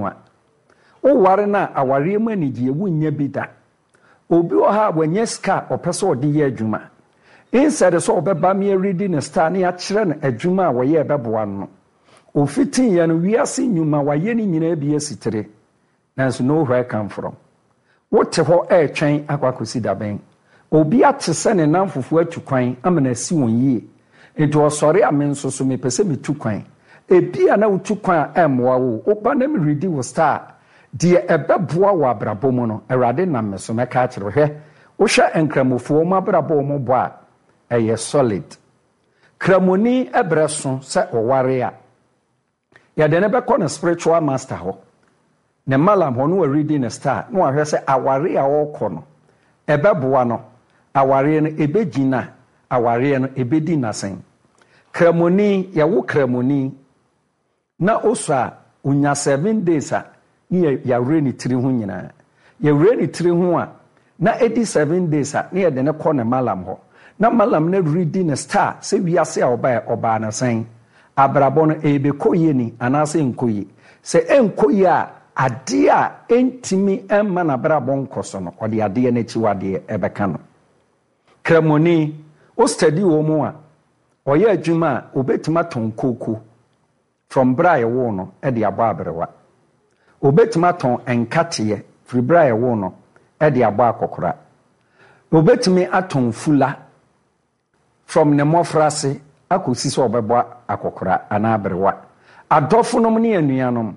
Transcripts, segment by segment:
no a, woware no a, awareɛ mu anigyeɛ, wonnya bi da. Obi wɔ hɔ a wanya sika a ɔpɛ sɛ ɔde yɛ adwuma. Instead sɛ ɔbɛba me aredi ne star na yɛakyerɛ no adwuma a wɔyɛ a ɛbɛboa no no, ofitiiɛ no, wiase nnwuma wayɛ ne nyinaa bi asi tire. Nanso no where come from? Wote hɔ retwɛn akɔ akɔsi da bɛn? Obi ate sɛ ne nnamfofoɔ atu kwan ama no asi wɔn yie, enti ɔsɔre a me nso so mepɛ sɛ metu kwan. Ebia na wotu kwan a ɛmmoa wo o, woba na meredi wo star a, deɛ ɛbɛboa wo abrabɔ mu no, Awurade nam me so mɛka akyerɛ wo. Hwɛ, wohwɛ Nkramofoɔ wɔn abrabɔ a wɔbɔ a, ɛyɛ solid. Kramoni berɛ so sɛ ɔware a, Yɛde no bɛkɔ ne spiritual master hɔ, ne mallam hɔ na waredi ne star na wahwɛ sɛ awareɛ a ɔrekɔ no ɛbɛboa no, awareɛ no ɛbɛgyina, awareɛ no ɛbɛdi n'asen. Kramoni, yɛwo kramoni na ɔsɔ a, ɔnya 7 days a ne yɛawerɛ ne tiri ho nyinaa. Yɛwerɛ ne tiri ho a, na ɛdi 7 days a, na yɛde no kɔ ne mallam hɔ. Na mallam no redi ne star sɛ wiase a ɔbaeɛ, ɔbaa no sɛn? Abrabɔ no, ɛrebɛkɔ yie ni anaasɛ ɛnkɔ yie? Sɛ ɛnkɔ yie a, adeɛ a ɛntumi mma n'abrabɔ nkɔ so no, ɔde adeɛ no akyiwadeɛ bɛka no. Kramoni, wo study wɔn a, ɔyɛ adwuma a, ɔbɛtumi atɔn kooko from berɛ a yɛwoo no de abɔ aberewa. Ɔbɛtumi atɔn nkateɛ firi berɛ a yɛwoo no de abɔ akɔkora. Ɔbɛtumi atɔn fula from ne mmɔfraase akɔsi sɛ ɔbɛbɔ akɔkora anaa aberewa. Adɔfonom ne anuanom,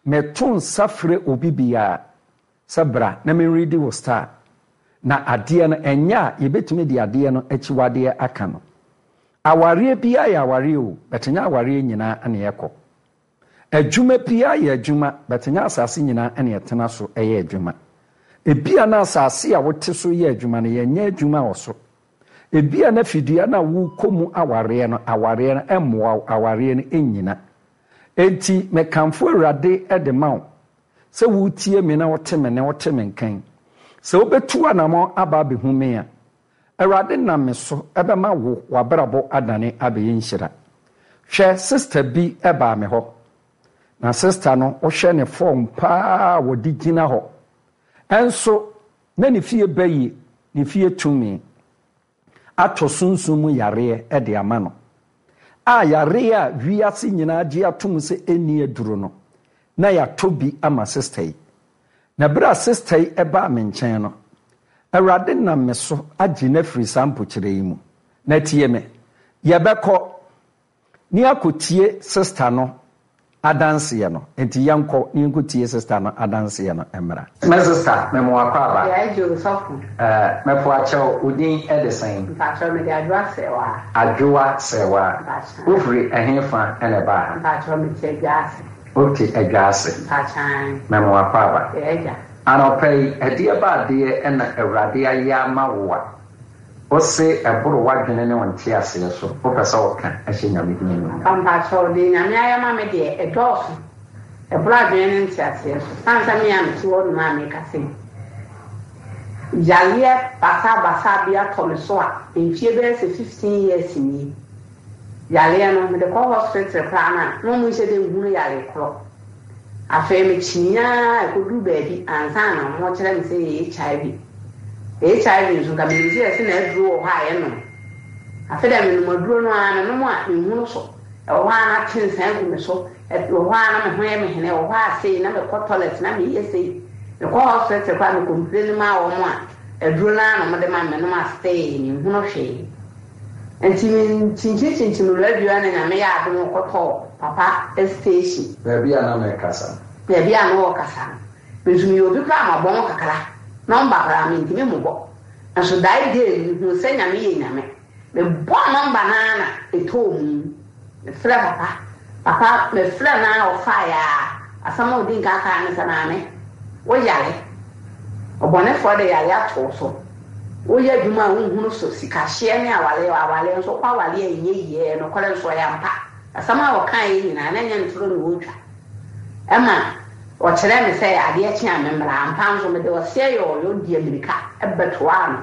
meto nsa frɛ obi biara sɛ bra na menredi wo star. Na adeɛ no, ɛnyɛ a yɛbɛtumi de adeɛ no akyiwadeɛ aka no. Awareɛ biara yɛ awareɛ o, but nyɛ awareɛ nyinaa na ɛkɔ. Adwuma biara yɛ adwuma, but nyɛ asase nyinaa na ɛtena so yɛ adwuma. Ebia na asase a wote so yɛ adwuma no, yɛnyɛ adwuma wɔ so. Ebia na fidua no a worekɔ mu awareɛ no, awareɛ no mmoa wo, awareɛ no nnyina. Enti mekamfo Awurade de ma wo sɛ woretie me na wote me nne, wote me nka yi. Sɛ wobɛtu anammɔn aba abɛhu me a, Awurade nam me so bɛma wo w'abrabɔ adane abɛyɛ nhyira. Hwɛ, sista bi baa me hɔ, na sista no, wohwɛ ne fɔɔm paa a wɔde gyina hɔ, nso na ne fie bayi, ne fie tumi atɔ sunsum mu yareɛ de ama no, a yareɛ a wiase nyinaa gye atom sɛ ɛnni aduro no, na yɛatɔ bi ama sista yi. Na berɛ a sista yi baa me nkyɛn no, Awurade nam me so agye no afiri saa mpokyerɛ yi mu. Na tie me, yɛbɛkɔ ne yɛakɔtie sista no adanseɛ no. Enti yɛnkɔ ne yɛnkɔtie sista no adanseɛ no mmra. Me sista, mema wo akwaaba. Yɛɛ gye o sɔfo. Eh, mɛpo akyɛw, wo din de sɛn? Mpakyɛw, mede Adwoa Sɛɛwaa. Adwoa Sɛɛwaa. Mpakyɛw. Wofiri ɛhefa na ɛbaa ha? Mpakyɛw, mete Adwaase. Wote Adwaase. Mpakyɛw. Mema wo akwaaba. Yɛɛ gya. Anɔpa yi, ɛdeɛ ba adeɛ na Awurade ayɛ ama wo a wose ɛboro w'adwene ne wo nteaseɛ so, wopɛ sɛ woka hyɛ Nyame din animuonyam? Papa mpakyɛw, deɛ Nyame ayɛ ama me deɛ, ɛdɔɔso, ɛboro adwene ne nteaseɛ so. Sane sɛ me a mete hɔ nom a mekasa yi, yareɛ basabasa bi atɔ me so a, mfie bɛyɛ sɛ 15 years nie. Yareɛ no, mede kɔ hospital koraa no a, na wɔn nhyɛ da nhunu yareɛ korɔ. Afei mekyinii ara kɔduruu baabi ansa na wɔrekyerɛ me sɛ ɛyɛ HIV. HIV nso, nka menim sɛ yɛse na aduro wɔ hɔ a yɛnom. Afei deɛ menom aduro no ara, menom a menhunu so. Ɛwɔ hɔ ara na te nsa agu me so, ɛwɔ hɔ ara na me ho yɛ me hene, ɛwɔ hɔ ara sei na mekɔ toilet na meyɛ sei. Mekɔ hospital koraa me complain maa wɔn a, aduro no ara na wɔde ma me, menom a stay menhunu hwee. Nti me kyinkyin radio a na Nyame yɛ adom ɔkɔtɔɔ papa station. Baabi a na merekasa no. Baabi a na ɔrekasa no. Me nso meyɛ obi koraa a mabɔn kakra, nɔmba koraa mentumi mmobɔ. Nso that day no mehuu sɛ Nyame yɛ Nyame. Mebɔɔ nɔmba no ara na ɛtɔɔ mu. Mefrɛɛ papa, papa mefrɛɛ no ara ɔfaeɛ ara, asɛm a ɔdi nka kaeɛ ne sɛ, Maame, wo yare, ɔbɔnefoɔ de yare ato wo so, woyɛ adwuma a wonhunu so, sikahyeɛ ne awareɛ, awareɛ nso wokɔ awareɛ a ɛnyɛ yie, ɛyɛ nokorɛ nso ɛyɛ ampa. Asɛm a ɔkaeɛ nyinaa na ɛnyɛ ntorɔ na ɔretwa. Ɛma ɔkyerɛɛ me sɛ adeɛ kye a memmra, ampa nso mede ɔseɛ yɔɔyɔ dii ammirika bɛtoaa no,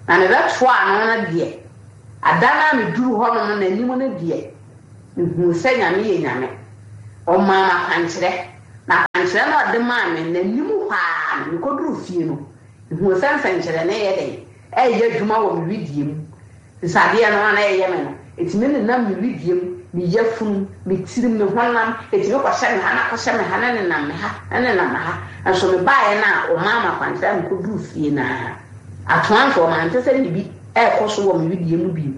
na mebɛtoaa no no deɛ, Ada no a meduruu hɔnom no n'anim no deɛ, mehuu sɛ Nyame yɛ Nyame. Ɔmaa me akwankyerɛ, na akwankyerɛ. Akwankyerɛ no a ɔde maa me no, n'anim hɔ ara no, mekɔduruu fie no, mehuu sɛ nsɛnkyerɛnne reyɛ dɛn? Reyɛ adwuma wɔ me wedeɛ mu. Nsadeɛ no a na ɛyɛ me no, ɛtumi nenam me wedeɛ mu, me yafunu, me tirim, me honam, ɛtumi kɔhyɛ me ha na kɔhyɛ me ha na ɛnenam me ha na ɛnenam me ha. Nso mebaeɛ no a wɔmaa me akwankyerɛ a mekɔduruu fie no ara, atoa nso mante sɛ biribi rekɔ so wɔ me wedeɛ mu bio.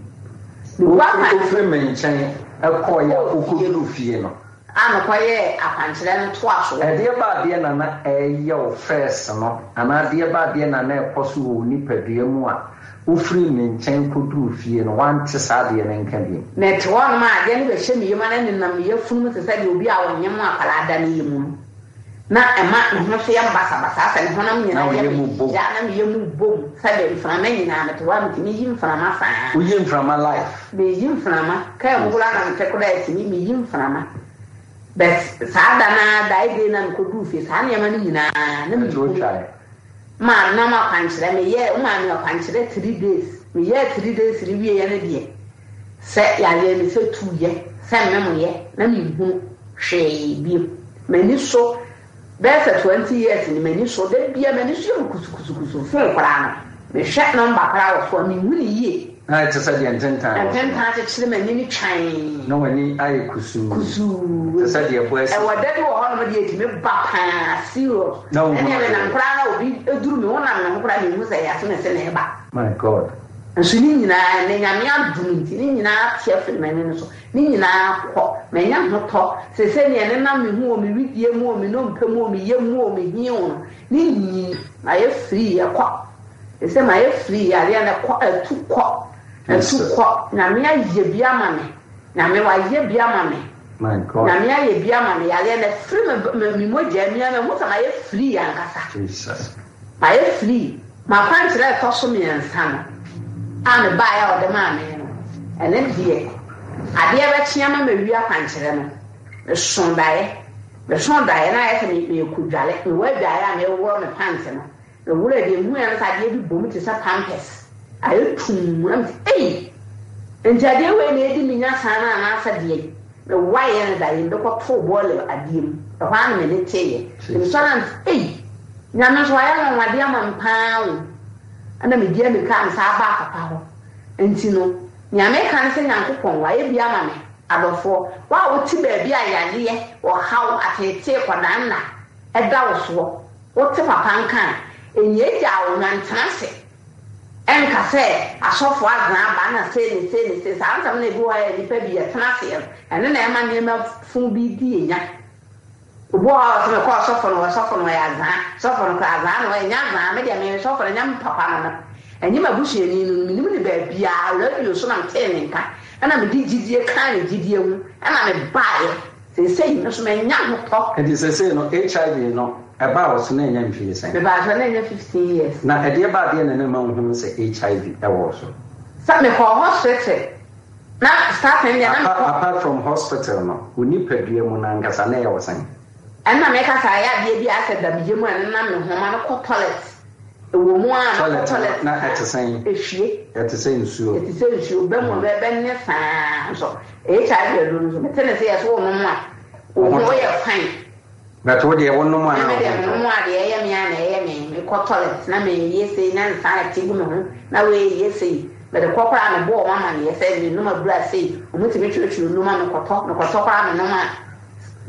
Mekɔ akwan. Wofiri me nkyɛn kɔeɛ a wokɔduruu fie no. A mekɔyɛɛ akwankyerɛ no toa so. Ɛdeɛ ba adeɛ na na ɛreyɛ wo first no anaa adeɛ ba adeɛ na na ɛkɔ so wɔ wo nipadua mu a wofirii me nkyɛn kɔduruu fie no woante saa adeɛ no nka bio? Mete hɔnom a adeɛ no bɛhyɛ me yam a na ɛnenam me yafunu mu te sɛ deɛ obi a ɔnyem akwadaa da ne yam no. Na ɛma me ho nso yɛ me basabasa asɛ me honam Na nyinaa wo yɛ yam me bom. ya na me yam bom sɛdeɛ mframa nyinaa mete hɔ a metumi yi mframa saa. Woyi mframa life. Meyi mframa, kaa mu koraa na mete koraa ɛtumi meyi mframa but saa da no ara that day no a mekɔduruu fie saa nneɛma no nyinaa na Ɛnti menhunu. wotwaeɛ? Maa nam akwankyerɛ meyɛɛ womaa me akwankyerɛ 3 days meyɛɛ 3 days no wieɛ no deɛ sɛ yareɛ me sɛ tuuyɛ sɛ memoyɛ na menhunu hwee bio m'ani so bɛyɛ sɛ 20 years ni m'ani so da bia m'ani so yɛ me kusukusukusu phone koraa no mehwɛ number koraa wɔ so a menhu no yie. Na ayɛ te sɛ deɛ ntentan wɔ so no. Ntentan akyekyere m'ani no twann. Na w'ani ayɛ kusuu. Kusuu. Te sɛ deɛ ɛbɔ asi. Ɛwɔ da bi wɔ hɔnom deɛ ɛtumi ba paa serious. Na wohunu Ɛnneɛ adeɛ. menam koraa na obi duru me ho nam me ho koraa menhu sɛ ɛyɛ asomasi na ɛreba. My God. Nso ne nyinaa ɛnnɛ Nyame adom nti ne nyinaa ate afiri m'ani no so. Ne nyinaa kɔ. Manya ahotɔ. Seesei deɛ ɛnenam me ho o, me wedeɛ mu o, me nnompe mu o, me yam mu o, me he o no, ne nyinaa mayɛ free, ɛkɔ. Seesei mayɛ free, yareɛ no ɛkɔ, atu kɔ, atu kɔ. Nyame ayɛ bi ama me. Nyame wayɛ bi ama me. Nyame ayɛ bi ama me. Yareɛ no afiri me, me, me mogya mu. Mahu sɛ mayɛ free ankasa. Mayɛ free. M'akwankyerɛ a ɛtɔ so mmiɛnsa no a mebaeɛ a ɔde maa me no, ɛno deɛ, adeɛ bɛkye ama mawie akwankyerɛ no, mesoo daeɛ. Mesoo daeɛ na ayɛ sɛ merekɔdware. Mewɔ adwaeɛ a mereworɔ me pant no, meworɔɛ deɛ mehuiɛ ne sɛ adeɛ bi bɔ mu te sɛ pampers, ayɛ tumm. Na mese, Ei! Enti adeɛ wei na ɛredi me nya saa no anaasɛ deɛn? Mewaeɛ no daeɛ mu de kɔtoo bɔɔla adeɛ mu. Ɛhɔ ara na m'ani teeɛ. Nti mesɔre a mese, Ei! Nyame nso wayɛ anwanwadeɛ ama me paa o. Ɛna medi amirika a mesan baa papa hɔ. Nti no, nea meka ne sɛ Nyankopɔn wayɛ bi ama me. Adɔfoɔ, wo a wote baabi a yareɛ, ɔhaw, ateetee, kɔdaanna da wo soɔ, wote papa nka a, nnyaagyaa wo ho, ntena ase nka sɛ asɔfoɔ adwene aba na sei ne sei ne sei. Saa nsɛm no a ebi wɔ hɔ a nnipa bi yɛtena aseɛ no, ɛno na ɛma nneɛma funu bi di yɛn nya. Obi wɔ hɔ a ɔse mekɔ ɔsɔfo no hɔ, sɔfo no ɔyɛ azaa, sɔfo no koraa azaa na ɔyɛ, nyɛ azaa, me deɛ me sɔfo no nyɛ me papa no no, ɛnyɛ m'abusuani no no, menim no baabiaa, radio so na metee ne nka, ɛna mede gyidie kaa ne gyidie ho, ɛna mebaeɛ, seesei me nso manya ahotɔ. Nti seesei no HIV no ɛbaa wo so na ɛnya mfie sɛn? Mebaa so na ɛnya 15 years. Na ɛdeɛ ba adeɛ na na ɛma wohunu sɛ HIV ɛwɔ wo so? Sɛ mekɔɔ hospital Na starting deɛ na mekɔ. Apart from hospital no, wo nipadua mu no ankasa na ɛyɛ wo sɛn? Ɛna meka sɛ ayɛ adeɛ bi a asɛ da me yam a ɛnenam me ho ma no kɔ toilet. Ɛwɔ mu a mekɔ toilet na ɛte sɛn? Ɛhwie. Ɛte sɛ nsuo. Ɛte sɛ nsuo, bɛ mu bɛ ne saa nso. HIV aduro no nso mete ne sɛ yɛ so wonom a wo ho yɛ fine. But wo deɛ wo nom a na wo ho ntɔ. Me deɛ me nom a deɛ ɛyɛ me a na ɛyɛ me. Me kɔ toilet na me yɛ sei na nsa ɛte gu me ho na wei yɛ sei. Me de kɔ koraa me bɔ wɔn amaneɛ sɛ me nom abura sei. Wɔn tumi twerɛtwerɛ nnuro ma me kɔtɔ. Me kɔtɔ koraa me nom a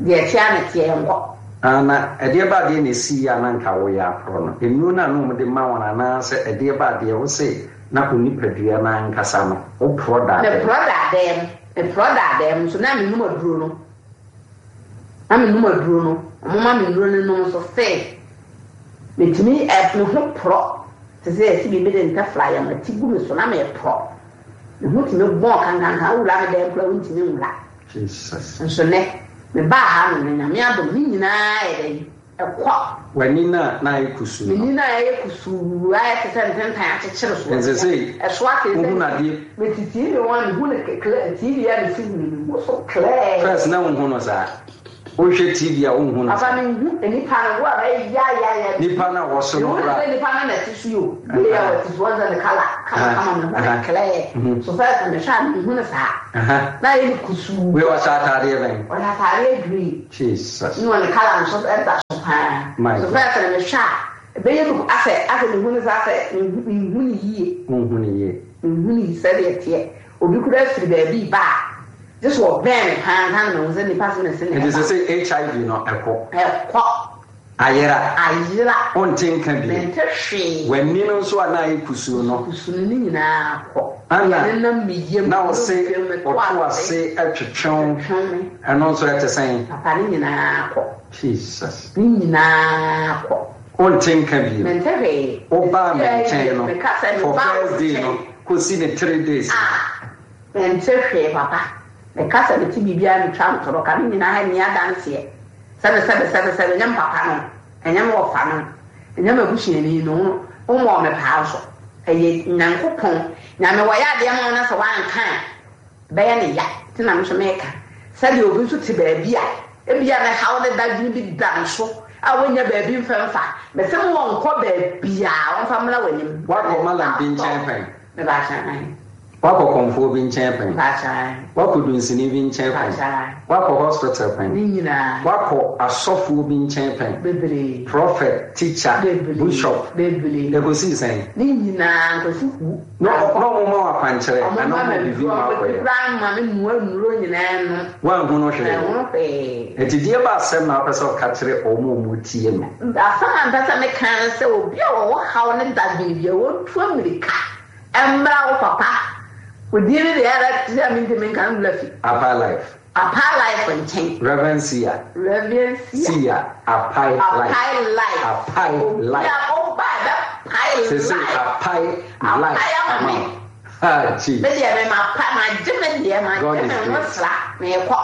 deɛ ɛteɛ a na ɛteɛ ɛnkɔ. Ah na ɛdeɛ ba adeɛ na ɛsii a na nka wo yɛ aporɔ no? Nnuro no a na wɔn de ma wɔn anaa sɛ ɛdeɛ ba adeɛ wo se na wo nipadua no ankasa no wo porɔ daa dɛm? Me porɔ daa dɛm. Me porɔ daa dɛm nso na me nom aduro no. Na me nom aduro no, ɔmo ma me nnuro no nom nso see metumi ɛ me ho porɔ te sɛ yɛse biribi de ntɛfra yam ati gu me so na meporɔ. Me ho tumi bɔn kankankan wowura me dan koraa wontumi nwura. Jesus. Nso nɛ me baa ha nom no Nyame adom ne nyinaa yɛ dɛn? Ɛkɔ. W'ani no a na ayɛ kusuu no. M'ani no a ayɛ kusuu, ayɛ te sɛ ntentan akyekyere so. Ɛnsɛ sɛ Ɛso ate sɛ wohunu adeɛ. Mete TV ho a mehu no clear, TV a mesi hu no mehu so clear. First na wonhu no saa. Wohwɛ TV a wonhu no Papa saa. menhu nipa no wo a bɛyɛ yayaya. Nipa no a wɔso no Mehu no koraa. sɛ nipa no na ɛte so yi o. Wei a wɔte so wɔn sɛ ne colour kama kama mehu no clear. So first no mehwɛ a menhu no saa. Na ayɛ no kusuu. Wei ɔhyɛ ataadeɛ bɛn? Ɔhyɛ ataadeɛ green. Jesus. Ne ɔne colour nso da so paa. My So God. first no mehwɛ a ɛbɛyɛ no asɛ asɛ mehu no saa asɛ menhu menhu no yie. Wonhu no yie. Menhu no sɛdeɛ ɛteɛ. Obi koraa firi baabi reba a, gye sɛ ɔbɛn me paa ansa na mahu sɛ nipa so na ɛse na Nti ɛba. sese HIV no ɛkɔ? Ɛkɔ. Ayera? Ayera. Wonte nka bio? Mente hwee. W'ani no nso a na ayɛ kusuu no? Kusuu no, ne nyinaa kɔ. Ana Deɛ nenam me yam, na wo se me dompe, me to ɔto ase ase twetwe wo, twetwe me. ɛno nso ɛte sɛn? Papa, ne nyinaa kɔ. Jesus. Ne nyinaa kɔ. Wonte nka bio? Mente hwee. Wobaa me Seesei nkyɛn deɛ, no, meka sɛ for mebaa wo first day no, nkyɛn. kɔsi ne 3 days no. Ah, mente hwee papa. Meka sɛ mete biribiara metwa ntorɔ ka ne nyinaa nni adanseɛ. Sɛbe sɛbe sɛbe sɛbe, ɛnyɛ me papa no, ɛnyɛ me wɔfa no, ɛnyɛ m'abusuani no, wommɔɔ me paa nso. Ɛyɛ Nyankopɔn. Nyame wɔyɛ adeɛ ma wo na sɛ woanka a, Ɛbɛyɛ no ya, nti na me nso meka. Sɛdeɛ obi nso te baabi a, ebia ne haw ne dadwene bi da ne so a wannya baabi mfa mfa. Mese mo ɔnkɔ baabiara, ɔmfa mmra w'anim. Woakɔ Mallam bi nkyɛn pɛn? Mepakyɛ ae. Woakɔ kɔmfoɔ bi nkyɛn pɛn? Mepakyɛ ae. Woakɔ dunsini bi nkyɛn pɛn? Mepakyɛ ae. Woakɔ hospital pɛn? Ne nyinaa. Woakɔ asɔfoɔ bi nkyɛn pɛn? Bebree. Prophet, teacher, Bebree. bishop. Bebree. Ɛkɔsii sɛn? Ne nyinaa, nkosi hu. Na na ɔmo ma wo akwankyerɛ Ɔmo anaa ma ɔmo me biribi nnuro, ma ɔmo akɔyɛ? koraa ma me noa nnuro nyinaa nom. Woanhu no hwee? Manhu hwee. Enti deɛ ba asɛm na wopɛ sɛ ɔka kyerɛ ɔmo a ɔmo tie no? Asɛm a mepɛ sɛ meka ne sɛ obi a ɔwɔ haw ne dadwen biara ɔntu ammirika mmra wo papa, wo din no deɛ ɛyɛ a te sɛ mentumi nka no wura fi. Apae life. Apae life nkyɛn. Rev. Sia. Rev. Sia. Sia, apae life. Apae life. Apae life. Obi a ɔba a ɛbɛpae life. Sese apae life Apae ama ama me. wo. Ah, Me jeez. deɛ me mapa magye me deɛ magye God is me ho great. sra meekɔ.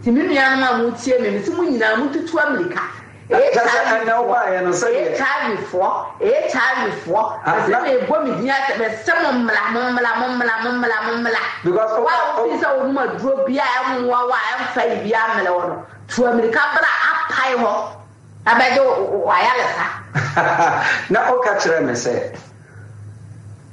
Nti me nuanom a motie me mese mo nyinaa montutu amirika. Kyɛ sɛ ɛnɛ wobaeɛ no sɛdeɛ. HIV foɔ, HIV foɔ, mese meebɔ me din akyɛ, mese mo mmra, mo mmra, mo mmra, mo mmra, mo mmra. Because Wo a wofii sɛ wonom aduro bi a ɛmmoa wo a ɛmfa yi bi ammrɛ wo no, tu amirika bra apae hɔ na bɛgye w'ayaresa. Na woka kyerɛɛ me sɛ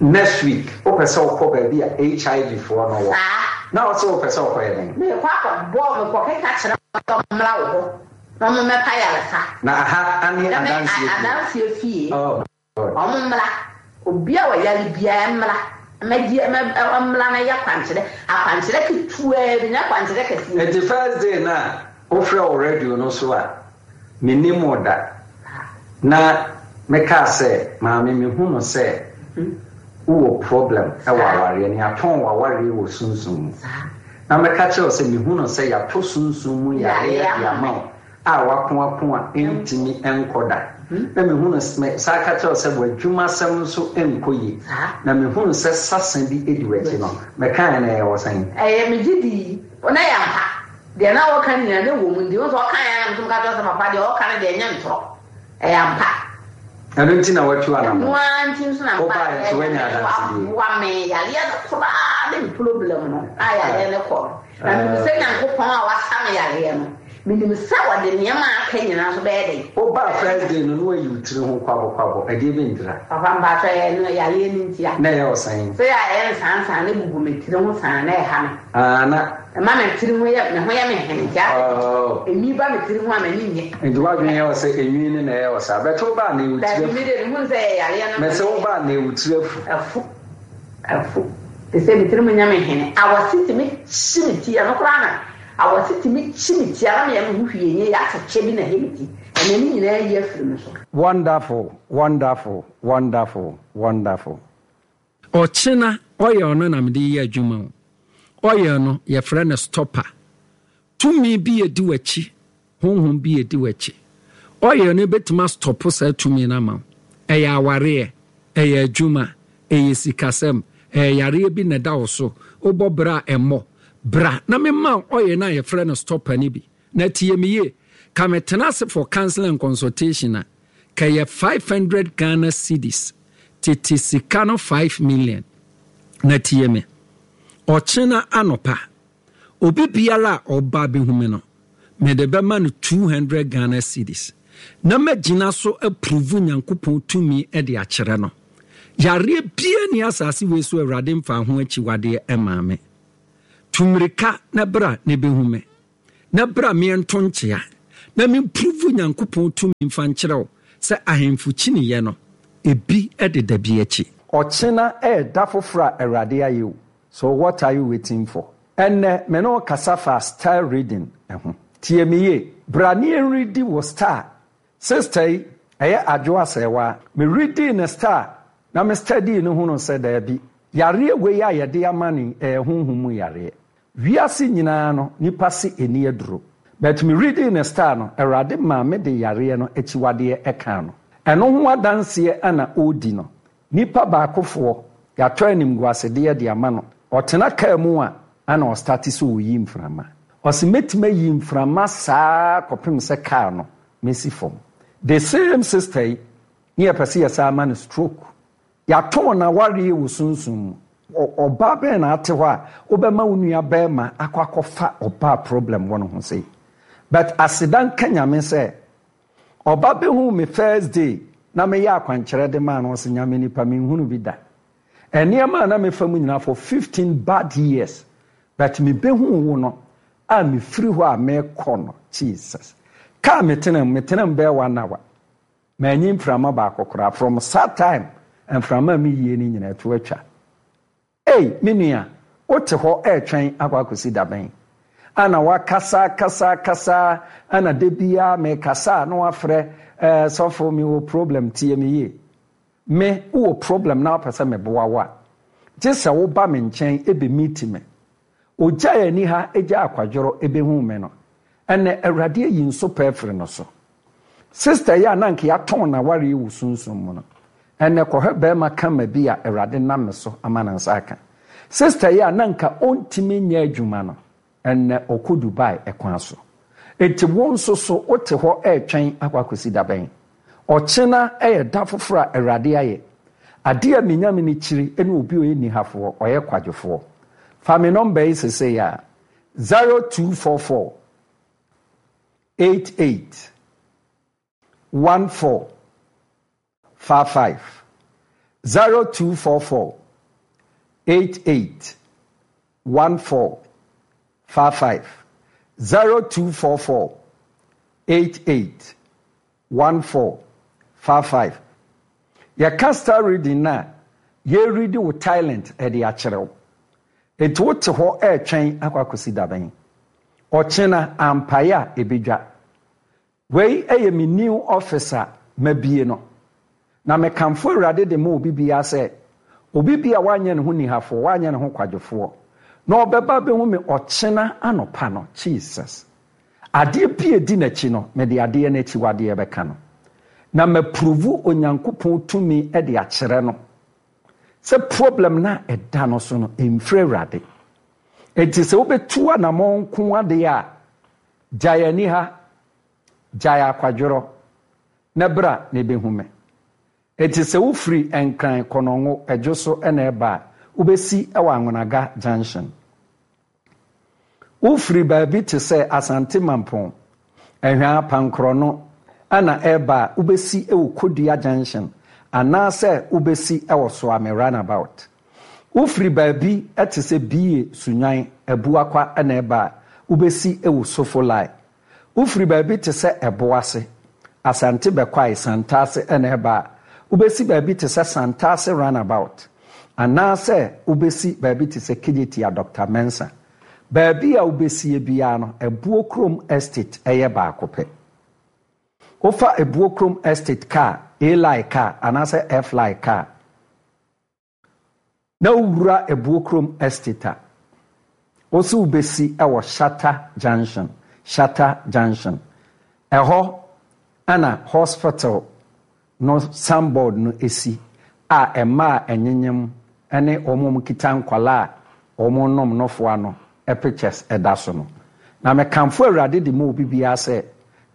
next week wopɛ sɛ wokɔ baabi a HIV foɔ no wɔ. Saa. Na wose wopɛ sɛ wokɔyɛ dɛn? Meekɔ akɔbɔ, mekɔkeka kyerɛ wɔn sɛ wɔmmra wo hɔ. Na ɔmo mmɛpa ayaresa. Na aha ane Ɛne adanseɛ fie. adanseɛ fie. Oh God. Ɔmo mmra. Obi a ɔyare biara mmra. Mmɛgye, mmɛ, ɔmmra na yɛ akwankyerɛ. Akwankyerɛ ketewa bi, nyɛ akwankyerɛ kɛseɛ bi. Nti first day no a wofrɛ wɔ radio no so a, mennim wo da. Na mekaa sɛ, Maame mehu no sɛ wowɔ problem wɔ awareɛ no, yɛatɔn w'awareɛ wɔ sunsum mu. Na mɛka kyerɛ wo sɛ mehu no sɛ yɛatɔ sunsum mu yareɛ de ama wo a wako ako a ɛntumi nkɔ da. Na mehu no, me san ka kyerɛ wo sɛ w'adwumasɛm nso nkɔ yie. Na mehu no sɛ sasa bi di w'akyi no, mekaeɛ no ɛyɛ wɔ sɛn? Ɛyɛ, megye di, na ɛyɛ ampa. Deɛ na ɔka nyinaa na ɛwɔ mu nti, wohu sɛ ɔkaeɛ ara na me nso meka kyerɛ wo sɛ papa deɛ ɔka no deɛ ɛnyɛ ntorɔ. Ɛyɛ ampa. Ɛno nti na woatu anammɔn. Ɛno ara nti nso na Wobaeɛ nso woanya Nyame adansedie. waboa me. Yareɛ no koraa ne me problem no a yareɛ no kɔ no. Na menim sɛ Nyankopɔn a wasa me yareɛ no, menim sɛ ɔde nneɛma a aka nyinaa nso bɛyɛ dɛn? Wobaa first day no na woayi wo tiri ho kwabokwabo, ɛdeɛ bɛ ntira? Papa mpakyɛ ɛyɛ no yareɛ no ntia. Na ɛyɛ wo sɛn? Sɛ yɛ a ɛyɛ nsaansaa na ɛgugu me tiri ho saa na ɛha me. Ah na. Ɛma me tiri ho yɛ me ho yɛ me hene nti asɛ Oh. enwi ba me tiri ho a m'ani nnye. Nti w'adwene yɛ wo sɛ enwi no na ɛyɛ wo saa but wo ba a na ewu tiri Dabi afu. me deɛ mehu no sɛ ɛyɛ yareɛ no na Mese wo ɛyɛ. ba a na ewu tiri afu. Afu afu te sɛ me tiri mu nyɛ me hene awɔse tumi kyi me ti ɛno koraa na awɔse tumi kyi me ti a na meyɛ me ho hwee nyɛ yie asɛ kyɛ bi na ɛyɛ me ti ɛnɛ ne nyinaa ayi afiri me so. Wonderful, wonderful, wonderful, wonderful. Ɔkyena oil no na mede yɛ adwuma o. Oil no yɛfrɛ no stopper. Tumi bi edi w'akyi, honhom bi edi w'akyi. Oil no bɛtumi astɔpo saa tumi no ama wo. Ɛyɛ awareɛ, ɛyɛ adwuma, ɛyɛ sikasɛm, ɛyɛ yareɛ bi na ɛda wo so, wobɔ bra a ɛmmɔ. Bra na memma wo oil no a yɛfrɛ no stopper no bi. Na tie me yie, ka me tena ase for counseling and consultation a, ka ɛyɛ 500 Ghana cedis, tete sika no 5 million. Na tie me, ɔkyena anɔpa, obi biara a ɔba abɛhu me no, Mede bɛma no 200 Ghana cedis na magyina so apuruvu Nyankopɔn tumi de akyerɛ no. Yareɛ biara nni asase wei so a Awurade mfaa ho akyiwadeɛ mmaa me. Tu mmirika na bra na bɛhu me, na bra meɛnto nkyea, na mempuruvu Nyankopɔn tumi mfa nkyerɛ wo sɛ ahemfo kyiniiɛ no, ebi deda bi akyi. Ɔkyena yɛ da foforɔ a Awurade ayɛ o, so what are you waiting for? Ɛnnɛ me ne wo kasa fa star reading ho. Tie me yie, bra ne yɛnredi wo star. Sister yi, ɛyɛ Adwo Asɛewaa. Me readii ne star na me study no hunuu sɛ daabi, yareɛ wei a yɛde ama no yi ɛyɛ honhom mu yareɛ. Wiase nyinaa no nipa se ɛni aduro. But me readii ne star no, Awurade maa me de yareɛ no akyiwadeɛ kaa no. Ɛno ho adanseɛ na ɔredi no. Nipa baakofoɔ, yɛatɔ animguasedeɛ de ama no. Ɔtena kaa mu a, ana ɔstarte sɛ ɔreyi mframa. Ɔse mɛtumi ayi mframa saa kɔpem sɛ kaa no mɛsi fam. The same sister yi ne yɛpɛ sɛ yɛsan ma no stroke. Yɛatɔn n'awareɛ wɔ sunsum mu. Ɔbaa bɛn na ate hɔ a wobɛma wo nua bɛɛma akɔ akɔfa ɔbaa problem wɔ ne ho sei. But aseda nka Nyame sɛ Ɔba bɛhuu me first day na meyɛ akwankyerɛ de maa no ɔse Nyame nipa menhunu bi da. Nneɛma a na mefa mu nyinaa for 15 bad years but me bɛhuu wo no a mefiri hɔ a mekɔ no Jesus. Car metena mu metena mu bɛyɛ one hour manyi mframa baako koraa from saa time mframa a meyie no nyinaa ɛto atwa. Ei, me nua, wote hɔ retwɛn akɔ akɔsi da bɛn? Ana woakasa akasa akasa ana da biara mekasa a na woafrɛ, eh, sɔfo mewɔ problem, tie me yie. Me, wowɔ problem na wopɛ sɛ meboa wo a, gye sɛ woba me nkyɛn bɛ meet me. Ogyae aniha gyaa akwadworɔ bɛhuu me no, ɛnnɛ Awurade ayi nsopɛ afiri no so. Sister yi a na anka yɛatɔn n'awareɛ wɔ sunsum mu no, ɛnnɛ kɔhwɛ barima kama bi a Awurade nam me so ama ne nsa aka. Sister yi a na anka ɔntumi nyɛ adwuma no, ɛnnɛ ɔkɔ Dubai kwan so. Enti wo nso so wote hɔ retwɛn akɔ akɔsi da bɛn? Ɔkyena yɛ da foforɔ a Awurade ayɛ. Adeɛ a me Nyame no kyiri ne obi a ɔyɛ nihafoɔ, ɔyɛ kwadwofoɔ. Fa me nɔmba yi sesei ara, 0244 88 14 55, 0244 88 14 55, 0244 88 14 55. Yɛka star reading no a, yɛredi wo talent de akyerɛ wo. Enti wote hɔ retwɛn akɔ akɔsi da bɛn? Ɔkyena ampaeɛ a ɛbɛdwa. Wei yɛ me new office a mabie no. Na mekamfo Awurade de ma obi biara sɛ, obi bi a wanyɛ ne ho nihafoɔ, wanyɛ ne ho kwadwofoɔ, na ɔbɛba abɛhu me ɔkyena anɔpa no, Jesus. Adeɛ bi a ɛdi n'akyi no, mede adeɛ no akyiwadeɛ bɛka no. Na mapuruvu Onyankopɔn tumi de akyerɛ no sɛ problem no a ɛda no so no, ɛmfiri Awurade. Enti sɛ wobɛtu anamɔn nko adeɛ a, gyae aniha, gyae akwadworɔ, na bra na ɛbɛhu me. Enti sɛ wofiri Nkran Kɔnɔngo Ɛdwo so na ɛreba a, wobɛsi wɔ Anwonaga Junction. Wofiri baabi te sɛ Asante Mampong, Ahwaa Pankorɔno na ɛreba a, wobɛsi wɔ Kodua Junction anaasɛ wobɛsi wɔ Soame Runabout. Wofiri baabi te sɛ Bie Sunwan, Abuakwa na ɛreba a, wobɛsi wɔ Sofo Line. Wofiri baabi te sɛ Ɛboase, Asante Bɛkwae, Santase na ɛreba a, wobɛsi baabi te sɛ Santase Runabout, anaasɛ wobɛsi baabi te sɛ Kejetia Dɔkta Mensah. Baabi a wobɛsie biara no, Abuo Kurom Estate yɛ baako pɛ. Wofa Abuo Kurom Estate kaa, A-line kaa anaasɛ F-line kaa, Na wowura Abuokrom Estate a, wose wobesi wɔ Shatta Junction, Shatta Junction. Ɛhɔ na hospital no signboard no si a mmaa a ɛnyenyem ne wɔn a wɔkita nkwadaa a wɔrenom nofoa no pictures da so no. Na mekamfo Awurade de ma obi biara sɛ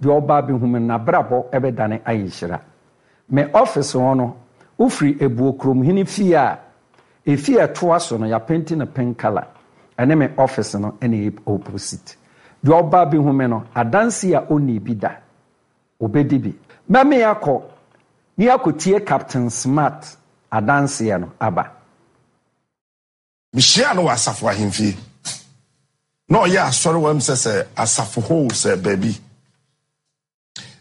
deɛ ɔba abɛhu me no, n'abrabɔ bɛdane ayɛ nhyira. Me office hɔ no, wofiri Abuokuromhene fie a, efie a ɛtoa so no, yɛapenti no pink colour. Ɛne me office no na ɛyɛ opposite. Deɛ ɔba abɛhu me no, adanseɛ a ɔnnii bi da, ɔbɛdi bi. Mɛme akɔ ne akɔtie Captain Smart adanseɛ no aba. Mehyiaa no wɔ asafo ahemfie. Na ɔyɛ asɔre wɔ m sɛ sɛ asafo hɔ sɛ baabi.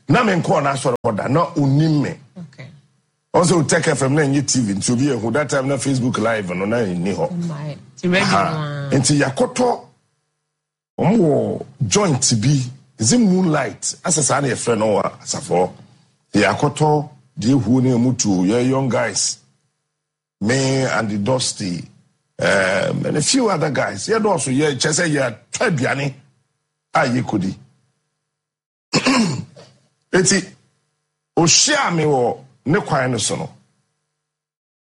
Na menkɔɔ n'asɔre hɔ da, na onim me. Ɔn sɛ Otech FM na ɛnyɛ TV nti obi ehu that time na Facebook live no na ɛnni hɔ. Nti yɛakɔtɔ wɔn wɔ joint bi is it moonlight asɛ saa na yɛfrɛ no wɔ asafo hɔ. Yɛakɔtɔ deɛ ehuo ne emu tuo yɛ young guys. Me and the Dusty um, and a few other guys. Yɛ dɔɔso yɛ kyɛ sɛ yɛatɔ aduane a yɛkɔdi. Eti ohyia me wɔ ne kwan no so no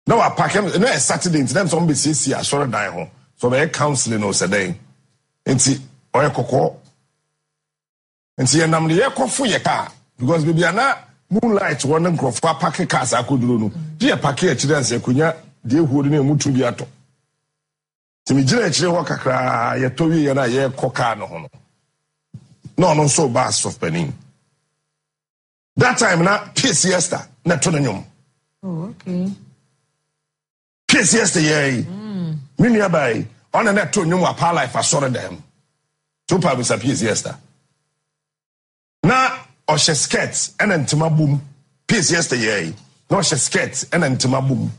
na wapake na yɛ Saturday nti na sɛ ɔmbɛsiesie asɔredan ho sɛ ɔbɛyɛ counseling o sɛ dɛn nti ɔyɛ kɔkɔɔ Nti yɛnam de yɛkɔfo yɛ car because baabi a na moonlight wɔ ne nkurɔfoɔ apake cars akɔduro no gye yɛ pake akyire ansa yɛkɔnya deɛ ɛhuo no ne ɛmu tu bi atɔ. Nti megyina akyire hɔ kakraa yɛtɔ wieɛ no a yɛrekɔ car no ho no na ɔno nso ba asɔf panin. That time na Peace Esther na ɛto no nnwom. Oh, okay. Case yɛ sɛ yɛɛ yi. Me nua baa yi, ɔna na ɛto nnwom wɔ Apaa Life asɔre dan mu. To pa bisa Peace Esther. Na ɔhyɛ skirt ɛna ntoma bom. Peace Esther yɛɛ yi. Na ɔhyɛ skirt ɛna ntoma bom.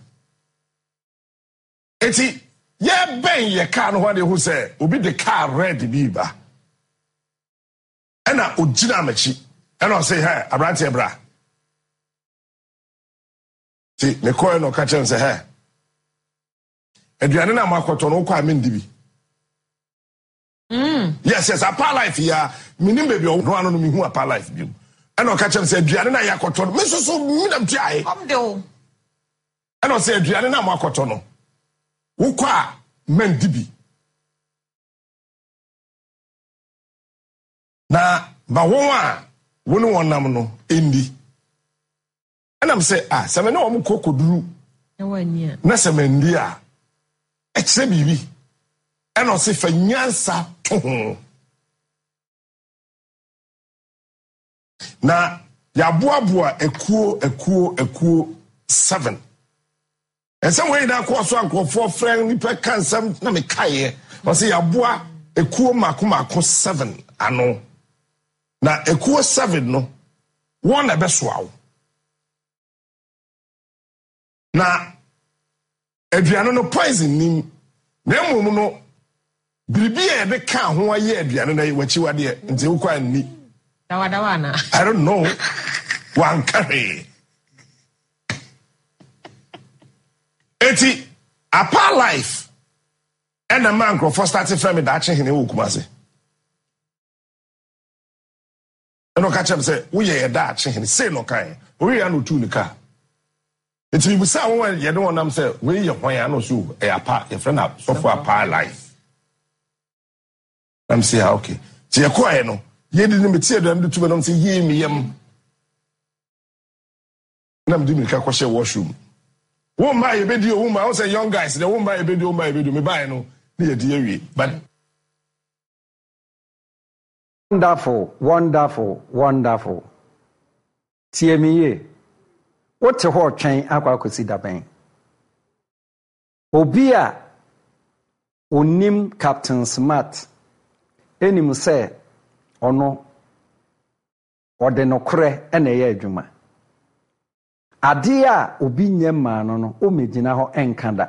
Eti yɛbɛn yɛ kaa no ho ade ho sɛ obi de kaa red bi ba. Ɛna ogyina m'akyi. Ɛna ɔse, hɛ, aberanteɛ bra. Nti mekɔɛ na ɔka kyerɛ me sɛ, hɛ, aduane no a moakɔtɔ no wokɔ a mendi bi. Yes, yes, apa life ya. Menim baabi ɔno ano no mehu apa life bi mu. Ɛna ɔka kyerɛ me sɛ aduane no a yɛakɔtɔ no, me nso so menam tuae. Ɛna ɔsɛ aduane no a moakɔtɔ no, wokɔ a mendi bi. Na ma wɔn a wo ne wɔn nam no ndi. Ɛna me sɛ, ah, sɛ me ne wɔn kɔ kɔduru na sɛ mandi a, ɛkyerɛ biribi. Ɛna ɔse fa nyansa to ho. Na yɛaboaboa akuo akuo akuo seven. Nsɛm wei nyinaa kɔɔ so a nkurɔfoɔ frɛ nnipa ka nsɛm na mekaeɛ. Ɔsɛ yɛaboa ekuo mmaako mmaako seven ano. Na ekuo seven no, wɔn na ɛbɛsoa wo. Na aduane no poison nim. Na mmom no, biribi a yɛde kaa ho ayɛ aduane no yɛ w'akyiwadeɛ nti wokɔ anni. Dawadawa ana? I don't know. Wanka hwee. Eti apa life ɛna ma nkurɔfoɔ start frɛ me daakye hene wɔ Kumase. Ɛna ɔka kyerɛ me sɛ woyɛ yɛ daakye hene sei na ɔkaeɛ. Ɔwieɛ a na ɔtuu ne kaa. Nti mebisaa wɔn a yɛne wɔn nam sɛ wei yɛ hwan a na ɔsɛ o ɛyɛ apa yɛfrɛ no sɔfo apa life. Na me sɛ ah okay. Nti yɛkɔɛ no yɛdi no mete aduane de tu bɛ nom sɛ yie me yam. Na mede mirika kɔhyɛ washroom. Wo mma yɛbɛdi o wo mma wo sɛ young guys deɛ wo mma yɛbɛdi o wo mma yɛbɛdi o mebaeɛ no ne yɛdi awie but Wonderful, wonderful, wonderful. Tie me yie. Wote hɔ retwɛn akɔ akɔsi da bɛn? Obi a onim Captain Smart nim sɛ ɔno ɔde nokorɛ na ɛyɛ adwuma. Adeɛ a obi nyɛ mmaa no no, wommɛgyina hɔ nka da.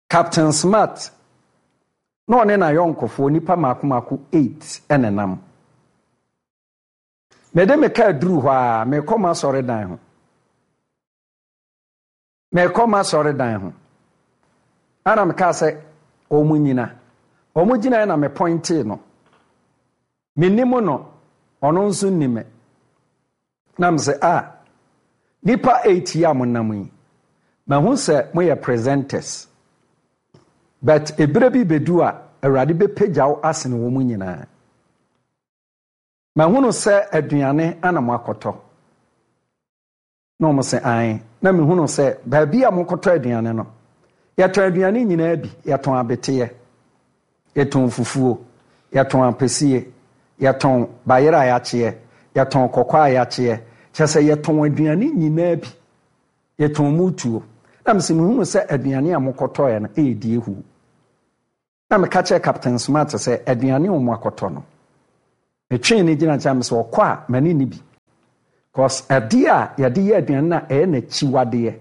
Captain Smart na ɔne n'ayɔnkofoɔ nnipa mmaako mmaako eight na ɛnam. Mede me kaa duruu hɔ ara, merekɔ m'asɔredan ho. Merekɔ m'asɔredan ho. Ɛna mekaa sɛ wɔn nyina. Wɔn gyinaeɛ na mepɔintee no. Mennim no, ɔno nso nni me. Na mese, ah, nnipa eight yi a monam yi, mahu sɛ moyɛ presenters. But ebere bi bedu a, Awurade bɛpagya wo asene wɔn nyinaa. Mahunu sɛ aduane ana moakɔtɔ. Na wɔn se, ae. Na mehunu sɛ baabi a mokɔtɔ aduane no, yɛtɔn aduane nyinaa bi. Yɛtɔn abeteɛ, yɛtɔn fufuo. Yɛtɔn ampesie, yɛtɔn bayerɛ a yɛakyeɛ, yɛtɔn kɔkɔɔ a yɛakyeɛ, kyerɛ sɛ yɛtɔn aduane nyinaa bi. Yɛtɔn mu tuo. Na mese mehunu sɛ aduane a mokɔtɔeɛ no ɛyɛ die huu. Na meka kyerɛɛ Captain Smart sɛ aduane a wɔakɔtɔ no, metwee no gyina nkyɛn mesɛ ɔkɔ a m'ani nni bi. Cause adeɛ a yɛde yɛ aduane no a ɛyɛ n'akyiwadeɛ,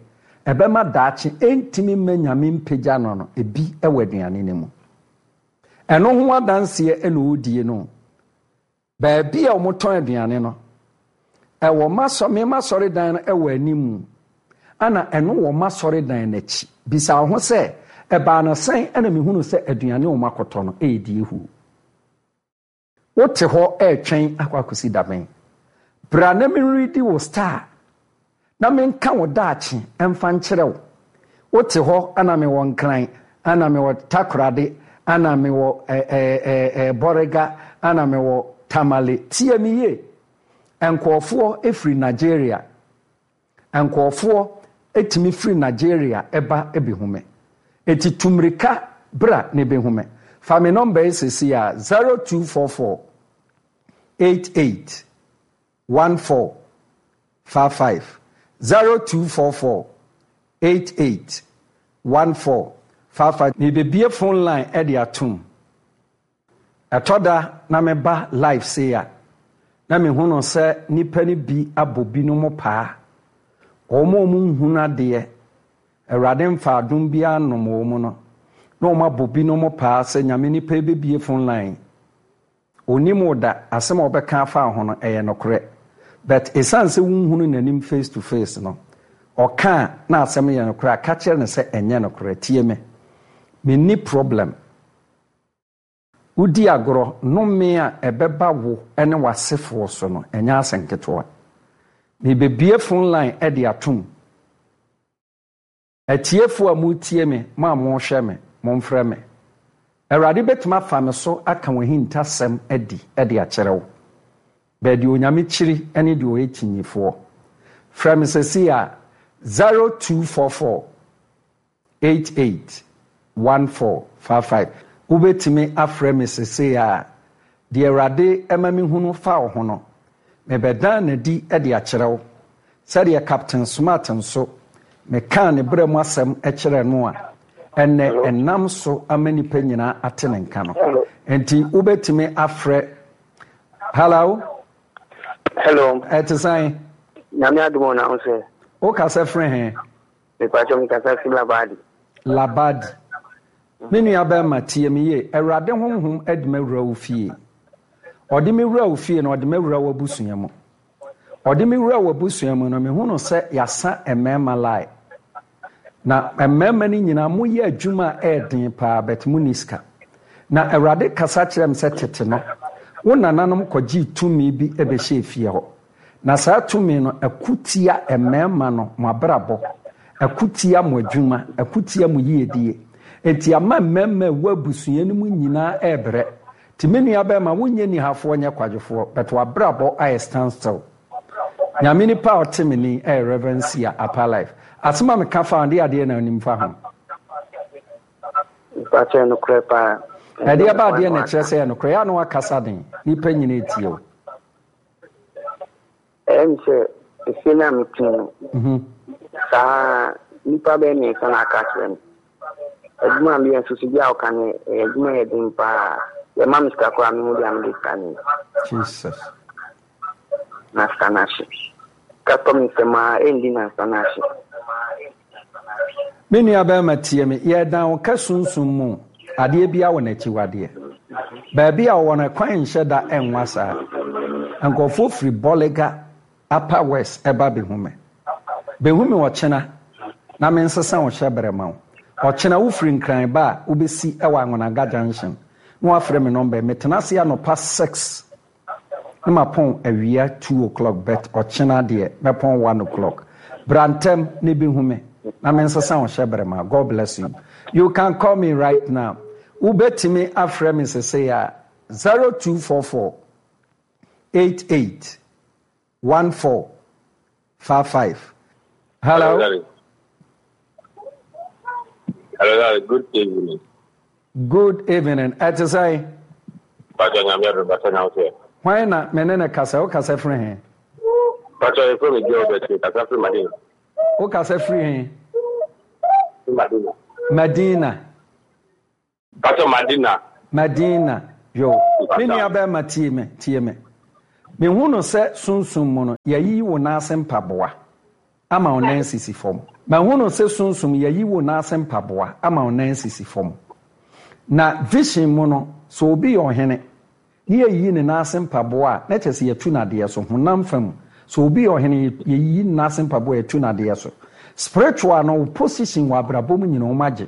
ɛbɛma daakye ɛntumi mma Nyame mpagya no no, ebi wɔ aduane no mu. Ɛno ho adanseɛ na ɔredie no. Baabi a wɔtɔn aduane no, ɛwɔ m'asɔ me m'asɔredan no wɔ anim, ɛna ɛno wɔ m'asɔredan no akyi. Bisa wo ho sɛ, 'Ɛbaa no sɛn na mehunuu sɛ aduane a wɔakɔtɔ no redi ahuo? Wote hɔ retwɛn akɔ akɔsi da bɛn? Bra na menredi wo star na menka wo daakye mfa nkyerɛ wo. Wote hɔ na mewɔ Nkran, na mewɔ Takorade, na mewɔ Bɔrega, na mewɔ Tamale. Tie me yie. Nkurɔfoɔ firi Nigeria. Nkurɔfoɔ tumi firi Nigeria ba bɛhu me. Enti tu mmirika bra na bɛhu me. Fa me nɔmba yi seesei ara, 0244 88 14 55 0244 88 14 55. Merebɛbue phone line de atom. Ɛtɔ da na meba live sei a, na mehunu sɛ nnipa no bi abɔ binom paa. Wɔn a wɔnhunu adeɛ, Awurade mfa adom biara nnom wɔn no, na wɔabɔ binom paa sɛ Nyame nipa yi bɛbue phone line. Ɔnnim wo da, asɛm a ɔbɛka afa wo ho no, ɛyɛ nokorɛ. But ɛsiane sɛ wonhunu n'anim face to face no, ɔka a na asɛm no yɛ nokorɛ a, ka kyerɛ no sɛ ɛnyɛ nokorɛ. Tie me, menni problem. Wodi agorɔ, nnome a ɛbɛba wo ne w'asefoɔ so no, ɛnyɛ asɛm ketewa. Merebɛbue phone line de atom. Atiefo a moretie me, mo a morehwɛ me, momfrɛ me. Awurade bɛtumi afa me so aka w'ahintasɛm adi de akyerɛ wo. Bɛɛ deɛ Onyame kyiri ne deɛ ɔyɛ kyinyifoɔ. Frɛ me sɛsei a, 0244 88 1455. Wobɛtumi afrɛ me sesei a, deɛ Awurade ma mehunu fa wo ho no, mebɛdan no adi de akyerɛ wo, sɛdeɛ Captain Smart nso, mekaa ne berɛ mu asɛm kyerɛɛ no a, ɛnnɛ ɛnam so ama nnipa nyinaa ate ne nka no. Enti wobɛtumi afrɛ. Hello? Hello. Ɛte sɛn? Nyame adom o, na wo sɛ? Wokasa firi he? Mepakyɛw mekasa fi Labadi. Labadi. Me nua bɛrima tie me yie. Awurade honhom adi me awura wo fie. Ɔde me wura wo fie na ɔde me awura w'abusua mu. Ɔde me wura w'abusua mu no mehunu sɛ yɛasa mmarima line. Na mmarima no nyinaa moyɛ adwuma a ɛyɛ den paa but monni sika. Na Awurade kasa kyerɛ me sɛ tete no wo nananom kɔgyee tumi bi bɛhyɛɛ fie hɔ. Na saa tumi no ɛko tia mmarima no, mo abrabɔ, ɛko tia mo adwuma, ɛko tia mo yiedie. Enti ama mmarima a ɛwɔ abusua no mu nyinaa ɛrebrɛ. Nti me nua bɛrima, wonyɛ nihafoɔ nyɛ kwadwofoɔ, but w'abrabɔ ayɛ stand still. Nyame nipa a ɔte me ni ɛyɛ Rev. Sia Upper Life. Asɛm a meka fa ho, deɛ adeɛ na wonim fa ho? Mpakyɛ nokorɛ paa. Ɛdeɛ ba adeɛ na ɛkyerɛ sɛ ɛyɛ nokorɛ? Yɛ a na wakasa den, nipa nyina ɛtie wo. Ɛyɛ me sɛ efie no a mete mu no, saa nnipa bɛyɛ mmiɛnsa na aka akyerɛ me. Adwuma a meyɛ nso so bi a woka no ɛyɛ adwuma yɛ den paa. Yɛma me sika koraa mehu deɛ mede sika no yɛ. Jesus. Na sika no ahye. Sika tɔ me nsam a ɛndi nansa na ahye. Me nua bɛrima tie me, yɛredan wo ka sunsum mu adeɛ biara wɔ n'akyiwadeɛ. Baabi a ɔwɔ no ɛkwan nhyɛ da nwa saa. Nkurɔfoɔ firi Bolliger Upper West ɛba bɛhu me. Bɛhu me ɔkyena na mensesa wo hyɛberɛ ma wo. Ɔkyena wofiri Nkran ba a wobɛsi wɔ Angonaga Junction na woafrɛ me nɔmba yi. Metena ase anɔpa 6 Na mapɔn awia two o'clock but ɔkyena deɛ mɛpɔn one o'clock. Bra ntɛm na bɛhu me na mensesa wo hyɛbrɛ ma. God bless you. You can call me right now. Wobɛtumi afrɛ me sesei a 0244 88 14 55. Hello. Hello, Hello, good evening. Good evening. Ɛte sɛn? Pacho Nyame adom pacho na wo so ɛ? Hwan na me ne no kasa? Wo kasa firi he? Pacho yɛfrɛ me Gilbert me kasa firi Madina. Wo kasa firi he? Madina. Madina. Pacho Madina. Madina yo. Me nua bɛrima tie me tie me. Me hu no sɛ sunsum mu no yɛayiyi wo nan ase mpaboa ama wo nan sisi fam. Mahu no sɛ sunsum yɛayi wo nan ase mpaboa ama wo nan sisi fam. Na vision mu no sɛ obi yɛ ɔhene Ne yɛyiyi ne nan ase mpaboa a, na kyerɛ sɛ yɛatu no adeɛ so. Honam fa mu, sɛ obi yɛ ɔhene, yɛyiyi ne nan ase mpaboa a, yɛatu no adeɛ so. Spiritual no, wo position wɔ abrabɔ mu nyina wɔagye.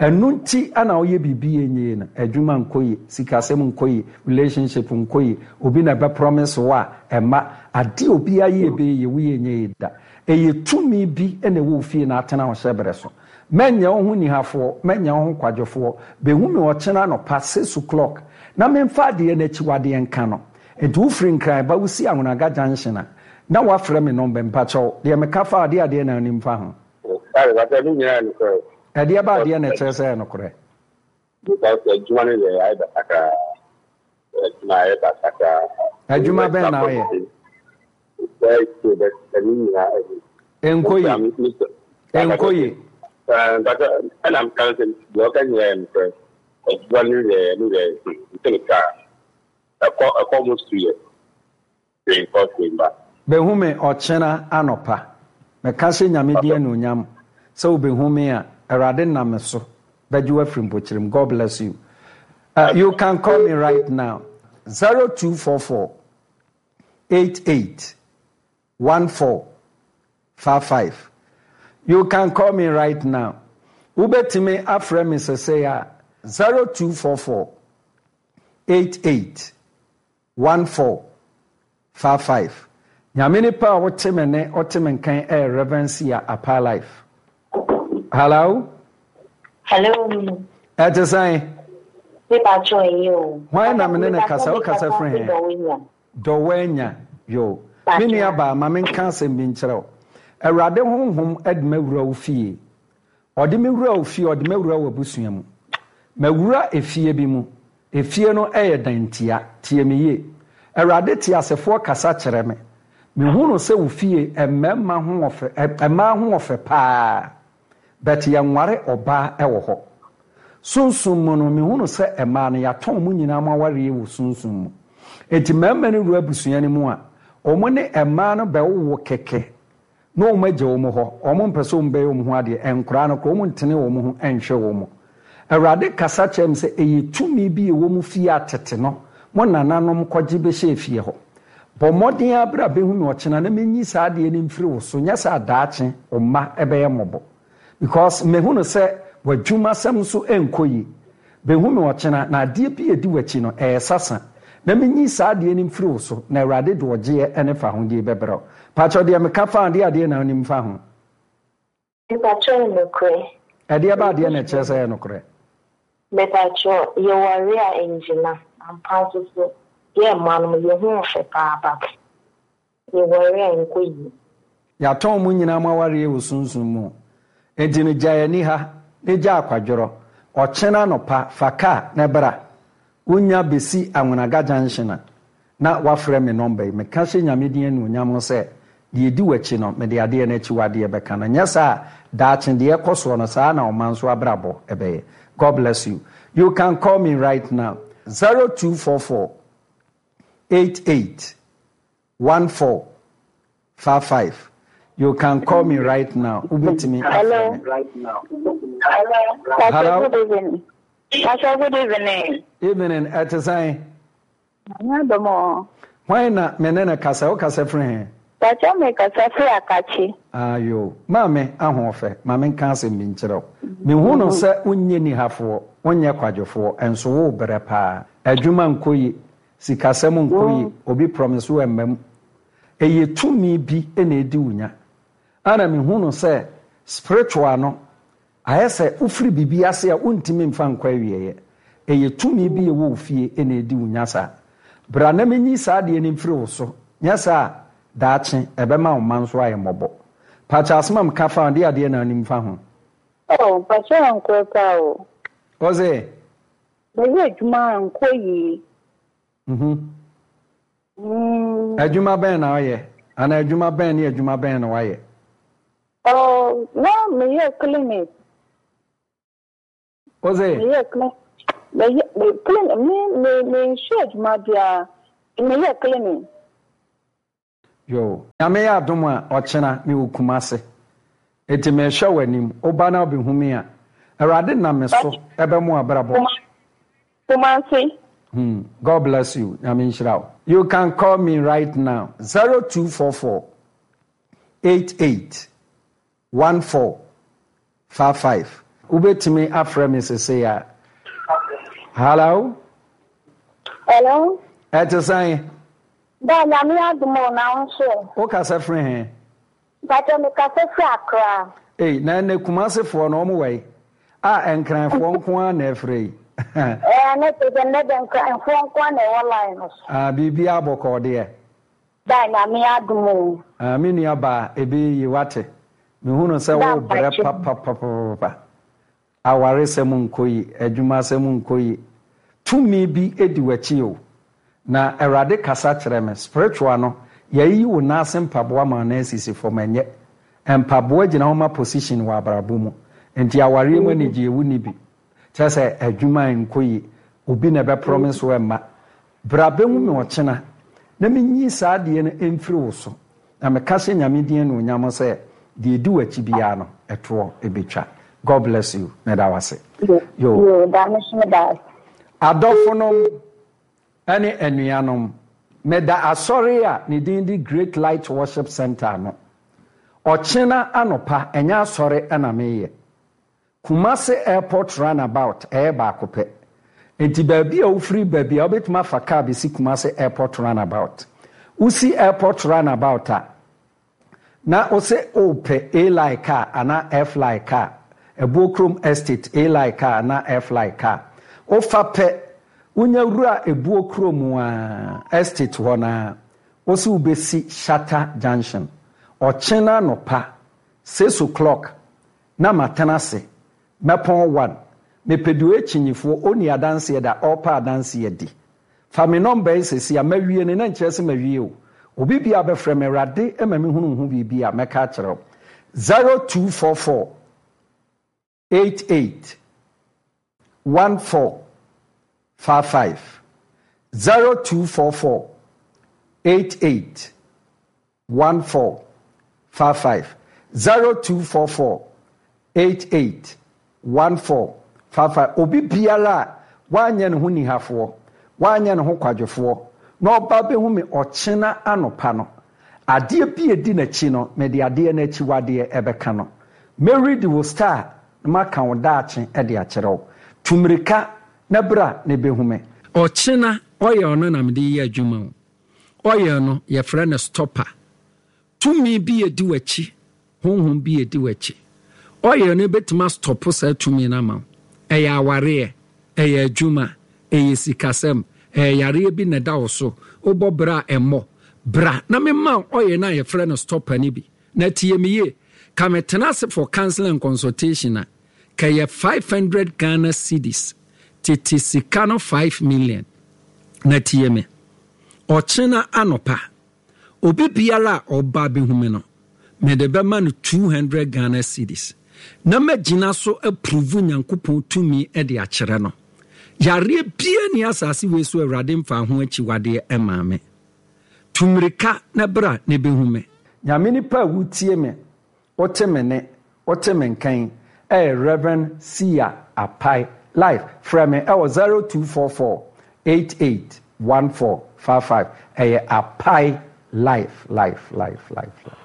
Ɛno nti na woyɛ biribi a ɛnyɛ yie no, adwuma nkɔ yie, sikasɛm nkɔ yie, relationship nkɔ yie, obi na ɛbɛ promise wo a, ɛmma. Adeɛ a obiara yɛ ɛbɛyɛ yie, woyɛ ɛnyɛ yie da. Ɛyɛ tumi bi na ɛwɔ wo fie na atena wo hyɛberɛ so. Mɛnyɛ wo ho nihafoɔ, mɛnyɛ wo ho kwadwofoɔ. Bɛhu me ɔkyena anɔpa six o'clock na memfa adeɛ no akyiwadeɛ nka no. Nti wofiri Nkran ba wosi Anwonaga junction a, na woafrɛ me nɔmba yi. Mpakyɛw, deɛ meka fa adeɛ adeɛ na wonim fa ho? Sorry, mpakyɛw ne nyinaa yɛ nokorɛ. Ɛdeɛ ba adeɛ na ɛkyerɛ sɛ ɛyɛ nokorɛ? Because adwuma no deɛ ayɛ basa koraa. Adwuma ayɛ basa koraa. Adwuma bɛn na woyɛ? Ɛnkɔ yie. Ɛnkɔ yie. Ɛna meka no sɛ deɛ ɔka nyinaa yɛ nokorɛ. Adwuma no deɛ no deɛ nti no kaa ɛkɔ ɛkɔ almost 2 years. Hwee nkɔ hwee mma. Bɛhu me ɔkyena anɔpa. Meka hyɛ Nyame din anuonyam sɛ wobɛhu me a, Awurade nam me so bɛgye wo afiri mpokyerɛ mu. God bless you. Uh, you can call me right now. 0244 88 14 55. You can call me right now. Wobɛtumi afrɛ me sɛsɛi a 0244 88 14 55. Nyame nipa a wote me ne wote me nkan ɛyɛ Rev. Sia Apaa Life. Hello. Hello. Ɛte sɛn? Me pa kyɛw ɛyɛ o. Hwan na me ne ne kasa? Wo kasa firi he? Dɔwanya. Yo. Me nua baa, ma menka asɛm bi nkyerɛ wo. Awurade honhom de m'awura wo fie. Ɔde me wura wo fie, ɔde m'awura w'abusua mu. Mawura efie bi mu. Efie no yɛ dan ntia. Tie me yie. Awurade teasefoɔ kasa kyerɛ me. Mehunu sɛ wo fie mmarima ho ɔfɛ, mmaa ho ɔfɛ paa. But yɛnware ɔbaa wɔ hɔ. Sunsum mu no, mehunu sɛ mmaa no, yɛatɔn mo nyinaa mo awareɛ wɔ sunsum mu. Enti mmarima no wura abusua no mu a, wɔn ne mmaa no bɛwowo kɛkɛ na wɔn agya wɔn hɔ, wɔn mpɛ sɛ wɔn bɛyɛ wɔn ho adeɛ, nkoraa no koraa wɔn ntene wɔn ho nhwɛ wɔn. Awurade kasa kyerɛɛ me sɛ ɛyɛ tumi bi a ɛwɔ mo fie a tete no mo nananom kɔgye bɛhyɛɛ fie hɔ. Bɔ mmɔden ara bra bɛhu me ɔkyena na menyi saa adeɛ no mfiri wo so, nyɛ saa a daakye wo mma bɛyɛ mmɔbɔ. Because mehu no sɛ w'adwumasɛm nso nkɔ yie. Bɛhu me ɔkyena, na adeɛ bi a ɛdi w'akyi no, ɛyɛ sasa. Na menyi saa adeɛ no mfiri wo so, na Awurade de ɔgyeɛ ne fahodie bɛbrɛ wo. Pakyɛw, deɛ meka fa ho, deɛ adeɛ na wonim fa ho? Mepakyɛw ɛyɛ nokorɛ? Ɛdeɛ ba adeɛ na ɛkyerɛ sɛ ɛyɛ nokorɛ? Mepakyɛw, yɛware a ɛngyina, ampa nso so, yɛ mmaa no yɛ ho ɔfɛ paa but yɛware a ɛnkɔ yie. Yɛatɔn mo nyinaa mo awareɛ wɔ sunsum mu. Enti no gyae aniha ne gya akwadworɔ. Ɔkyena anɔpa fa car na bra. Wonya bɛsi Anwenaga junction a, na wafrɛ me nɔmba yi. Meka hyɛ Nyame din anuonyam ho sɛ, deɛ ɛdi w'akyi no, mede adeɛ no akyiwadeɛ bɛka no. Nyɛ saa a, daakye deɛ ɛkɔ soɔ no, saa ara na ɔman nso abrabɔ bɛyɛ. God bless you. You can call me right now, 0244 88 14 55. You can call me right now. Wobɛtumi afrɛ me. Hello. Hello. Good evening. Pastor, good evening. Evening, ɛte sɛn? Nyame adom o. Hwan na me ne no kasa? Wo kasa firi he? Pakyɛ me kasa firi Akakye. Ayoo. Maame Ahoɔfɛ, ma me nka asɛm bi nkyerɛ wo. Me hu no sɛ wo nyɛ nihafoɔ, wo nyɛ kwadwofoɔ, nso wo brɛ paa. Adwuma nkɔ yie, sikasɛm nkɔ yie, obi promise wo ɛmma mu. Ɛyɛ tumi bi na ɛdi wo nya. Ɛna me hu no sɛ spiritual no, Ayɛ sɛ wofiri biribi ase a wontumi mfa nkɔ awieeɛ. Ɛyɛ tumi bi a ɛwɔ wo fie na ɛdi wo nya saa. Bra na menyi saa adeɛ no mfiri wo so, nyɛ saa a, daakye ɛbɛma wo mma nso ayɛ mmɔbɔ. Pakyɛ asɛm a meka fa ho, deɛ adeɛ na wonim fa ho? Oh, mpakyɛ ɛnkorɛ paa o. Ose? Meyɛ adwuma a ɛnkɔ yie. Mhm. Adwuma bɛn na ɔyɛ? Anaa adwuma bɛn ne adwuma bɛn na wayɛ? Oh, na meyɛ clinic. Ose? Meyɛ clinic. Meyɛ me clinic me me menhwɛ adwuma biara. Meyɛ clinic. Yoo. Nyame yɛ adom a ɔkyena mewɔ Kumase. Enti mehwɛ w'anim. Woba na wobɛhu me a, Awurade nam me so bɛmo w'abrabɔ. Kumasi. Hmm God bless you Nyame nhyira wo. You can call me right now 0244 88 14 55. Wobɛtumi afrɛ me sesei a. Hello. Hello. Ɛte sɛn? Da Nyame adom o, na wo nso ɛ? Wo kasa firi he? Mpakyɛw me kasa firi Accra. Ei na ɛnɛ Kumasi foɔ no wɔn wɔ he? Ah Nkran foɔ nko ara na ɛfrɛ yi. Ɛɛ ne te sɛ nnɛ deɛ Nkran foɔ nko ara na ɛwɔ line no so. Ah biribiara bɔkɔɔ deɛ. Da Nyame adom o. Ah me nua baa ɛbɛyɛ yie wate. Me hunu sɛ Da wo brɛ mpakyɛw. papapapapa. Awaresɛm nkɔ yi, adwumasɛm nkɔ yi. Tumi bi di w'akyi o. Na Awurade kasa kyerɛ me. Spiritual no, yɛayiyi wo nan ase mpaboa ma wo nan asisi fam. Ɛnyɛ. Mpaboa gyina hɔ ma position wɔ abrabɔ mu. Nti awareɛ mu anigyeɛ wonni bi. Kyerɛ sɛ adwuma nkɔ yie. Obi na ɛbɛ promise wo ɛmma. Bra bɛhu me ɔkyena na menyi saa adeɛ no mfiri wo so. Na meka hyɛ Nyame din anuonyam sɛ deɛ ɛdi w'akyi biara no ɛtoɔ bɛtwa. God bless you. Meda wo ase. Yo. Yo, da me so meda ase. Adɔfonom ne anuanom, meda asɔre a ne din de Great Light Worship Centre ano. Ɔkyena anɔpa, ɛnyɛ asɔre na meyɛ. Kumasi airport run about ɛyɛ baako pɛ. Enti baabi a wofiri ba biara wobɛtumi afa car bɛsi Kumasi airport run about. Wosi airport run about a, na wose wopɛ A-line car anaa F-line car, Abuo-Kurom estate A-line car anaa F-line car. Wofa pɛ, wonya wura Abuo-Kurom a, estate hɔ no ara, wose wobɛsi Shatta junction. Ɔkyena anɔpa, six o'clock, Na matena ase, mɛpɔn one. Mepɛ deɛ ɔyɛ kyinyifoɔ, ɔnni adanseɛ da, ɔrepɛ adanseɛ adi. Fa me nɔmba yi seesei a, mawie no, na nkyerɛ sɛ mawie o. Obi biara bɛfrɛ me, Awurade ma mehunu wo ho biribi a, mɛka akyerɛ wo. 0244 88 14 55 0244 88 14 55 0244 88 14 55 Obi biara a wanyɛ ne ho nihafoɔ, wanyɛ ne ho kwadwofoɔ, na ɔba bɛhu me ɔkyena anɔpa no, adeɛ bi a ɛdi n'akyi no, mede adeɛ no akyiwadeɛ ɛbɛka no. Mɛredi wo star na maka wo daakye de akyerɛ wo. Tu mmirika na bra na bɛhu me. Ɔkyena ɔyɛ ɔno na mede yɛ adwuma o. Oil no, yɛfrɛ no stopper. Tumi bi edi w'akyi, honhom bi edi w'akyi. Oil no betumi astɔpo saa tumi no ama wo. Ɛyɛ awareɛ, ɛyɛ adwuma, ɛyɛ sikasɛm, ɛyɛ yareɛ bi na ɛda wo so, wobɔ bra a ɛmmɔ. Bra na memma wo oil no a yɛfrɛ no stopper no bi. Na tie me yie, ka metena ase for counseling and consultation a, kɛyɛ 500 Ghana cedis, tete sika no 5 million. Na tie me, ɔkyena anɔpa, obi biara a ɔba abɛhu me no, mede bɛma no 200 Ghana cedis, na magyina so apuruvu Nyankopɔn tumi de akyerɛ no. Yareɛ biara ni asase wei so Awurade mfaa ho akyiwadeɛ mmaa me. Tu mmirika na bra na bɛhu me. Nyame nipa a wotie me, wote me nne, wote me nka yi ɛyɛ Rev. Sia Apai Life. Frɛ me ɛwɔ 0244 88 14 55. Ɛyɛ Apai Life, Life, Life, Life.